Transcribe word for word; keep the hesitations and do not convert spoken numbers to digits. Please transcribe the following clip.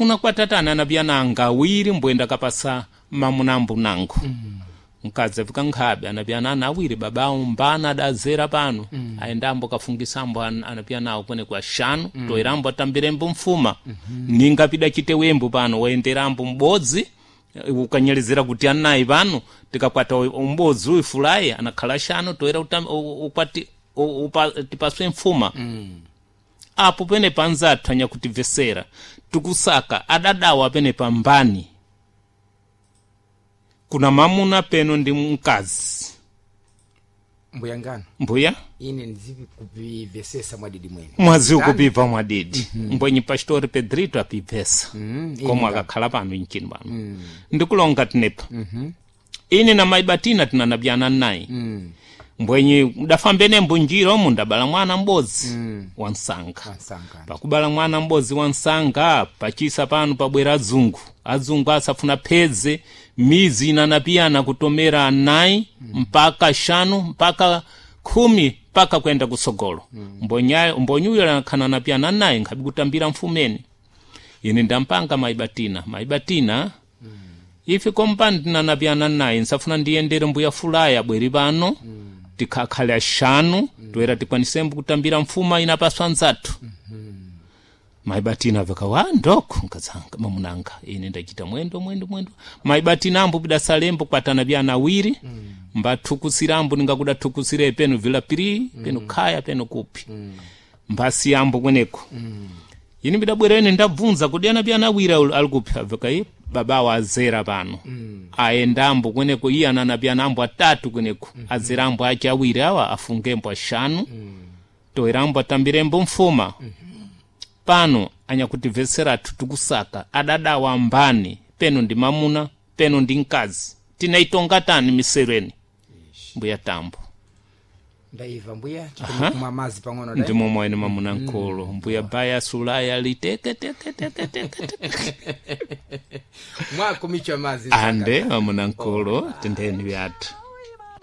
Unakwatatana anapiyana anga awiri, mbwenda kapasa mamunambu nangu. mm. Mkazi afika nkhabe anapiyana ana awiri, babawo mbana adazera pano. mm. Aendambo kafungisambo an, anapiyana awo kwene kwa shanu. mm. Toerambo atambirembo mfuma. mm -hmm. Ningapida chitewembo pano waenderambo m'bodzi ukanyelezera kuti anayi pano tikakwata umbodzi uyu fulayi anakhala shanu, toera utam, ukwati upa, tipaswe mfuma. mm. Apo pene panzathu anyakutimvesera tikusaka adadawa pene pambani kuna mamuna peno ndi mkazi. Mbuya ngano, mbuya, ine ndizivi kupivesesa mwadidi mwene. Mwazi ukupibva mwadidi. mm -hmm. Mbwenyi pastori Pedrito apibvesa. mm, komwe akakhala pano inchini pano. mm. Ndikulonga tinepa. mm -hmm. Ine na maibatina tinanabyana naye. mm. Mbwenyi mdafambene mbunjira omu ndabala mwana m'bodzi. mm. Wansanga. Wansanga. Pakubala mwana m'bodzi wansanga pachisa pano pabwera adzungu adzungu asafuna phedze mizi inanapiyana kutomera anayi. mm. Mpaka shanu, mpaka khumi, mpaka kwenda kusogolo. mm. Mbonyuyo anakhana anapiyana naye nkhabi kutambira mfumeni. Ine ndampanga maibatina maibatina. mm. Ife kompani tinanapiyana naye nsafuna ndiyendere mbuya fulaya bweri pano. mm. Tikhakhale ashanu. mm. Toera tikwanisembo kutambira mfuma inapaswa nzathu. mm -hmm. Maibatina aveka wa ndoko nkazanga mamunanga ine ndachita mwendo mwendo mwendo maibatina ambo pidasalembo kwatana byana awiri. mm. Mbathukusirambo ningakudathukusire peno vila piri. mm. Peno khaya peno kupi. mm. Mbasi ambo kweneko. mm. Ine bidabwera ine ndabvunza kuti ana byana awiri alikupi, aveka iye babawo azera pano. mm. Aendambo kweneko iye anana byana ambo atatu kweneko. mm -hmm. Azerambo ache awiri awa afungembo ashanu. mm. Toerambo atambirembo mfuma. mm -hmm. Pano anyakutimveseratu tikusaka adadawa mbani peno ndi mamuna peno ndi mkazi tinaitonga tani misereni mbuya Tambo. Ndaiva mbuya, tikumwa mazi pang'ono. Ndi momwe ine mamuna nkulu. Mbuya baya sulaya liteke teke teke teke teke mwakumichwa mazi. Ande mamuna nkulu tendeni vyathu.